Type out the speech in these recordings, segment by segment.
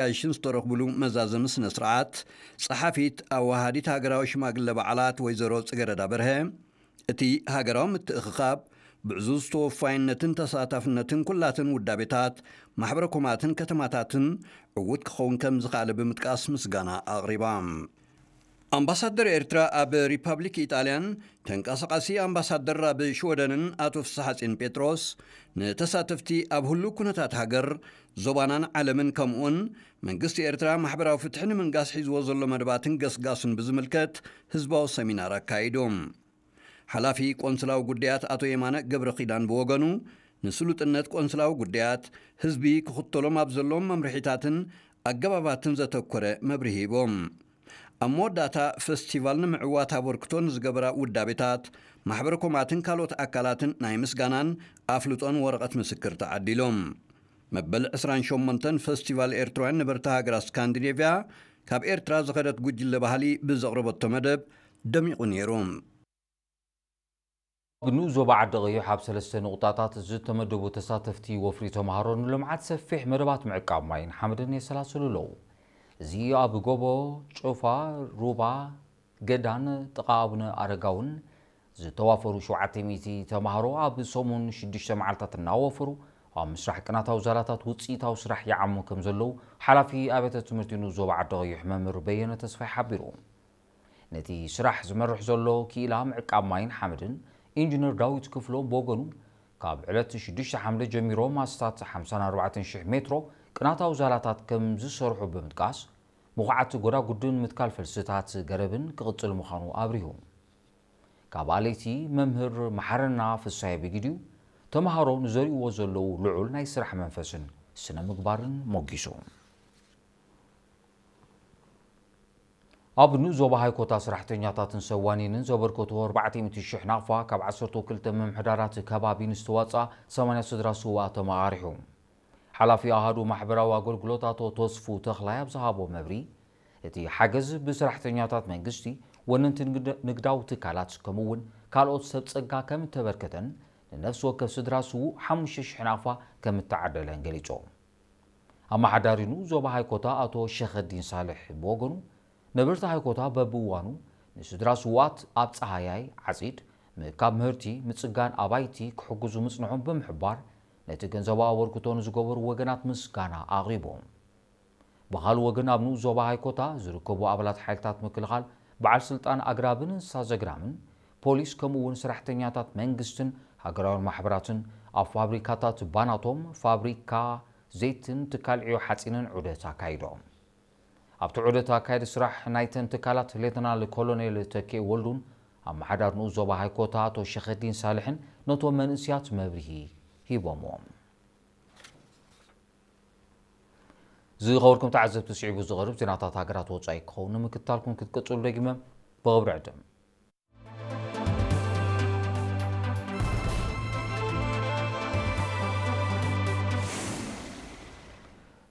ኣጋይሽን ዝተረኽብሉ መዛዘሚ ስነ ስርዓት፣ ጸሓፊት ኣወሃዲት ሃገራዊ ሽማግለ በዓላት ወይዘሮ ጽገረዳ በርሀ፣ እቲ ሃገራዊ ምትእኽኻብ ብዕዙዝ ተወፋይነትን ተሳታፍነትን ኩላትን ውዳቤታት፣ ማሕበረ ኮማትን ከተማታትን ዕዉት ክኸውን ከም ዝኸኣለ ብምጥቃስ ምስጋና ኣቕሪባ። ኣምባሳደር ኤርትራ ኣብ ሪፓብሊክ ኢጣልያን ተንቀሳቓሲ ኣምባሳደር ኣብ ሽወደንን ኣቶ ፍስሓጼን ጴጥሮስ፣ ንተሳተፍቲ ኣብ ህሉው ኩነታት ሃገር፣ ዞባናን ዓለምን፣ ከምኡውን መንግስቲ ኤርትራ ማሕበራዊ ፍትሒ ንምንጋስ ሒዝዎ ዘሎ መደባትን ገስጋሱን ብዝምልከት ህዝባዊ ሰሚናር ኣካይዶም። ሓላፊ ቆንስላዊ ጉዳያት ኣቶ የማነ ገብረ ኪዳን ብወገኑ፣ ንስሉጥነት ቆንስላዊ ጉዳያት፣ ህዝቢ ክኽተሎም ኣብ ዘለዎም መምርሒታትን ኣገባባትን ዘተኮረ መብርሂ ሂቦም። ኣብ መወዳእታ፣ ፈስቲቫል ንምዕዋት ኣበርክቶ ንዝገበራ ውዳቤታት፣ ማሕበረ ኮማትን ካልኦት ኣካላትን ናይ ምስጋናን ኣፍልጦን ወረቐት ምስክር ተዓዲሎም። መበል ዕስራን ሸሞንተን ፈስቲቫል ኤርትራውያን ነበርቲ ሃገራት ስካንዲኔቭያ፣ ካብ ኤርትራ ዝኸደት ጉጅለ ባህሊ ብዘቕረበቶ መደብ ደሚቑ ነይሩ። ኣብ ንኡስ ዞባ ዓዲ ቀይሕ ኣብ ሰለስተ ንቑጣታት ዝተመደቡ ተሳተፍቲ ወፍሪ ተምሃሮ ንልምዓት ሰፊሕ መደባት ምዕቃብ ማይን ሓመድን የሰላስሉ ኣለዉ። እዚ ኣብ ጎቦ፣ ጭፋ፣ ሩባ፣ ገዳን ጥቓ ኣቡነ ኣረጋውን ዝተዋፈሩ ሸውዓተ ሚእቲ ተምሃሮ ኣብ ሰሙን ሽዱሽተ መዓልታት እናወፈሩ ኣብ ምስራሕ ቅናታዊ ዛላታት ውፅኢታዊ ስራሕ ይዓሙ ከም ዘለዉ ሓላፊ ኣብያተ ትምህርቲ ንኡስ ዞባ ዓዲ ቀይሕ መምህር በየነ ተስፋይ ሓቢሩ። ነቲ ስራሕ ዝመርሕ ዘሎ ክኢላ ምዕቃብ ማይን ሓመድን ኢንጂነር ዳዊት ክፍሎም ብወገኑ፣ ካብ ዕለት ሽዱሽተ ሓምለ ጀሚሮም ኣስታት ሓምሳን ኣርባዕተን ሽሕ ሜትሮ ቅናታዊ ዛላታት ከም ዝሰርሑ ብምጥቃስ፣ ምኹዓት ጎዳጉድን ምትካል ፈልስታት ገረብን ክቕጽል ምዃኑ ኣብሪሁ። ካብ ኣለይቲ መምህር መሓረና ፍሳየ ብጊዲኡ፣ ተምሃሮ ንዘርእዎ ዘለዉ ልዑል ናይ ስራሕ መንፈስን ስነ ምግባርን ሞጊሱ። ኣብ ንኡስ ዞባ ሃይኮታ፣ ሰራሕተኛታትን ሰብ ዋኒንን ዘበርከትዎ ኣርባዕተ ሚእቲ ሽሕ ናቕፋ ካብ ዓሰርተ ክልተ ምምሕዳራት ከባቢ ንዝተዋፅኣ ሰማንያ ስድራ ስውኣት ተመቓሪሑ። ሓላፊ ኣሃዱ ማሕበራዊ ኣገልግሎት ኣቶ ተስፉ ተኽላይ ኣብ ዝሃቦ መብርሂ፣ እቲ ሓገዝ ብሰራሕተኛታት መንግስቲ፣ ወነንቲ ንግድ-፣ ንግዳዊ ትካላት ከምኡ እውን ካልኦት ሰብ ጸጋ ከም እተበርከተን ንነፍሲ ወከፍ ስድራ ስዉእ ሓሙሽተ ሽሕ ናቕፋ ከም እተዓደለን ገሊጾም። ኣመሓዳሪ ንኡስ ዞባ ሃይኮታ ኣቶ ሸኸዲን ሳልሕ ብወገኑ፣ ነበርቲ ሃይኮታ በብእዋኑ ንስድራ ስዉኣት ኣብ ጸሃያይ ዓጺድ፣ ምእካብ ምህርቲ፣ ምጽጋን ኣባይቲ ክሕግዙ ምጽንሖም ብምሕባር፣ ነቲ ገንዘባዊ ኣበርክቶ ንዝገበሩ ወገናት ምስጋና ኣቕሪቦም። ብኻልእ ወገን፣ ኣብ ንኡስ ዞባ ሃይኮታ ዝርከቡ ኣባላት ሓይልታት ምክልኻል፣ በዓል ስልጣን ኣግራብን እንስሳ ዘግራምን፣ ፖሊስ፣ ከምኡ እውን ሰራሕተኛታት መንግስትን ሃገራውያን ማሕበራትን ኣብ ፋብሪካታት ባናቶም፣ ፋብሪካ ዘይትን ትካል ዕዮ ሓጺንን ዑደት ኣካይዶም። ኣብቲ ዑደት ኣካየዲ ስራሕ ናይተን ትካላት ሌተናል ኮሎኔል ተኬ ወልዱን ኣመሓዳሪ ንኡስ ዞባ ሃይኮታ ኣቶ ሸኸዲን ሳልሕን ነቶም መንእስያት መብርሂ ሂቦምዎም። ዝኸበርኩም ተዓዘብቲ፣ ስዒቡ ዝቐርብ ዜናታት ሃገራት ወጻኢ ክኸውን ንምክትታልኩም ክትቅጽሉ ደጊመ ብኽብሪ ዕድም።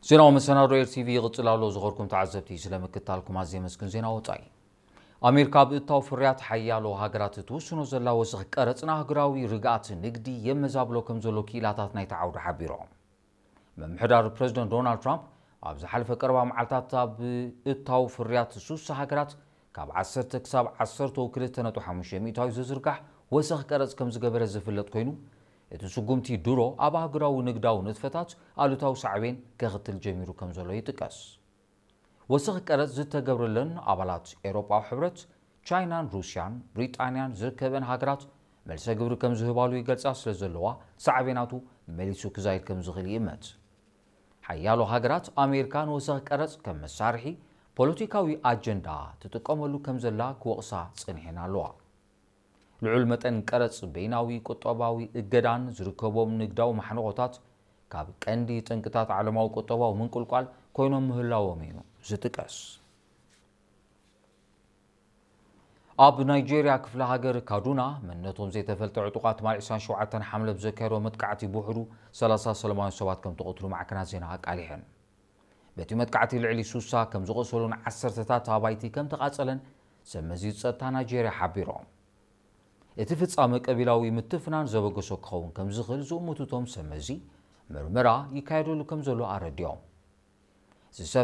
ዜናዊ መሰናዶ ኤር ቲቪ ይቕጽል ኣሎ። ዝኸበርኩም ተዓዘብቲ፣ ስለ ምክትታልኩም ኣዝየ የመስግን። ዜና ወጻኢ። ኣሜሪካ ኣብ እታው ፍርያት ሓያሎ ሃገራት እትውስኖ ዘላ ወሰኽ ቀረጽ ንኣህጉራዊ ርግኣት ንግዲ የመዛብሎ ከም ዘሎ ክኢላታት ናይቲ ዓውዲ ሓቢሮም። ምምሕዳር ፕረዚደንት ዶናልድ ትራምፕ ኣብ ዝሓለፈ ቀረባ መዓልታት ኣብ እታው ፍርያት ሱሳ ሃገራት ካብ ዓሰርተ ክሳብ ዓሰርተ ክልተ ነጥቢ ሓሙሽተ ሚእታዊ ዝዝርጋሕ ወሰኽ ቀረጽ ከም ዝገበረ ዝፍለጥ ኮይኑ፣ እቲ ስጉምቲ ድሮ ኣብ ኣህጉራዊ ንግዳዊ ንጥፈታት ኣሉታዊ ሳዕቤን ከኽትል ጀሚሩ ከም ዘሎ ይጥቀስ። ወሰኽ ቀረጽ ዝተገብረለን ኣባላት ኤውሮጳዊ ሕብረት፣ ቻይናን ሩስያን ብሪጣንያን ዝርከበን ሃገራት መልሰ ግብሪ ከም ዝህባሉ ይገልጻ ስለ ዘለዋ፣ ሳዕቤናቱ መሊሱ ክዛይድ ከም ዝኽእል ይእመት። ሓያሎ ሃገራት፣ ኣሜሪካ ንወሰኽ ቀረጽ ከም መሳርሒ ፖለቲካዊ ኣጀንዳ ትጥቀመሉ ከም ዘላ ክወቕሳ ጸኒሐን ኣለዋ። ልዑል መጠን ቀረጽ፣ በይናዊ ቁጠባዊ እገዳን ዝርከቦም ንግዳዊ ማሕንቖታት ካብ ቀንዲ ጠንቅታት ዓለማዊ ቁጠባዊ ምንቁልቋል ኮይኖም ምህላዎም እዩ ዝጥቀስ። ኣብ ናይጄርያ ክፍለ ሃገር ካዱና፣ መንነቶም ዘይተፈልጠ ዕጡቓት ትማሊ ዕስራን ሸውዓተን ሓምለ ብዘካየዶ መጥቃዕቲ ብውሕዱ ሰላሳ ሰላማውያን ሰባት ከም ተቐትሉ ማዕከናት ዜና ኣቃሊሐን። በቲ መጥቃዕቲ ልዕሊ ሱሳ ከም ዝቖሰሉን ዓሰርተታት ኣባይቲ ከም ተቓጸለን ሰብ መዚ ጸጥታ ናይጄርያ ሓቢሮም። እቲ ፍጻመ ቀቢላዊ ምትፍናን ዘበገሶ ክኸውን ከም ዝኽእል ዝእምቱ እቶም ሰብ መዚ፣ ምርመራ ይካየደሉ ከም ዘሎ ኣረዲኦም። ዝሰፍ